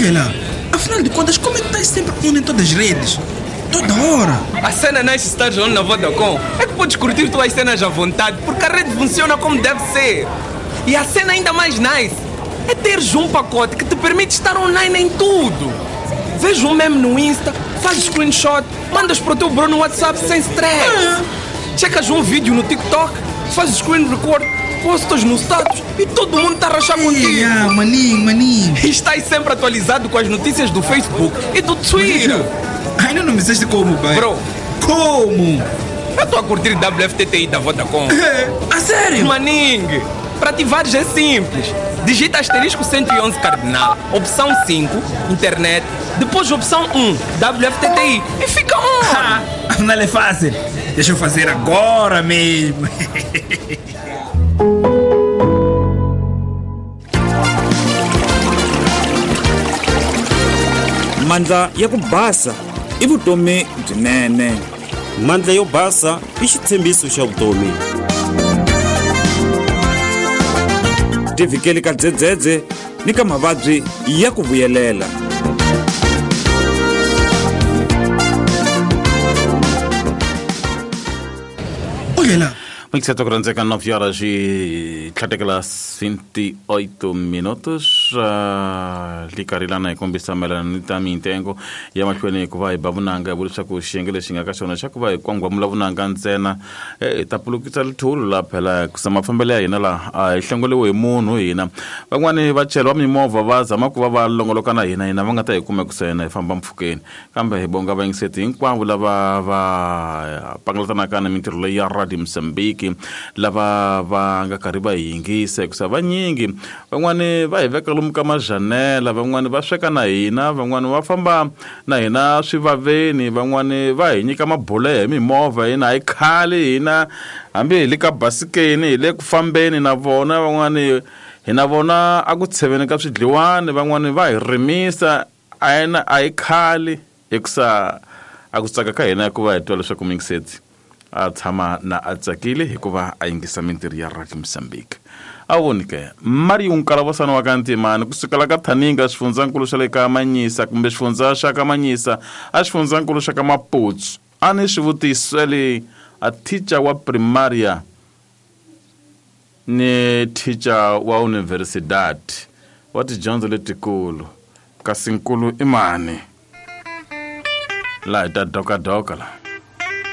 Olha lá, afinal de contas, como é que estás sempre on em todas as redes? Toda hora. A cena nice estás on na Vodacom é que podes curtir tuas cenas à vontade, porque a rede funciona como deve ser. E a cena ainda mais nice é teres um pacote que te permite estar online em tudo. Vês um meme no Insta, fazes screenshot, mandas para o teu bro no WhatsApp sem stress. Checas um vídeo no TikTok, fazes screen record, postas no status e todo mundo está a rachar contigo. Ah, maninho, maninho. E estás sempre atualizado com as notícias do Facebook e do Twitter. Ainda não me disseste como, bem. Bro. Como? Eu estou a curtir WFTTI da Vodacom. A sério? Maning, para ativares é simples. Digita asterisco 111 cardinal, opção 5, internet, depois opção 1, WFTTI e fica on. Afinal é fácil. Deixa eu fazer agora mesmo. Mandla ya ku basa i vutomi byinene. Mandla yo basa i xitshembiso xa vutomi. Tivikeli ka dzedzedze ni ka mavabyi ya ku vuyelela. Olha lá. Muito certo, grande, 9 horas e 28 minutos. Likarilana hi kombisa mayelana ni ta mintengo ya mahlweni hikuva hi ba vunanga hi vula leswaku xiyenge lexi nga ka xona xa ku va hi kwangwamula vunanga ntsena hi ta pulukisa lithulu la phela kusa mafambelo ya hina laha a hi hlongoliwi hi munhu hina. Van'wani va cheriwa mimovha va zama ku va va longoloka na hina, hina va nga ta hi kuma kusa hina hi famba mpfhukeni. Kambe hi bonga vayingiseti hinkwavo lava va pangalatanaka na mintirho leyi ya Radio Mozambique, lava va nga karhi va hi yingisa hikusa vanyingi van'wani va hi veka lomu ka majanela, van'wani va sweka na hina, van'wani va famba na hina swivaveni, van'wani va hi nyika mabulehe hi mimovha. Hina hi khale hina hambi hi le ka basikeni hi le ku fambeni na vona, van'wani hi na vona a ku tsheveni ka swidliwani, van'wani va hi rimisa. A hina a hi khale hikusa a ku tsaka ka hina hikuva hi twa leswaku muyingiseti a tshama na a tsakile hikuva a yingisa mintirho ya Radio Mozambique. A voni ke Mario Nkalavosana wa ka Ntimani kusukela ka Thaninga xifundzankulu xa le ka Manyisa kumbe xifundza xa ka Manyisa a xifundzankulu xa ka Maputsu a ni xivutiso le a teacher wa primaria ni teacher wa universidad wa tidyondzo letikulu kasi nkulu i mani laha hi ta dokadoka la.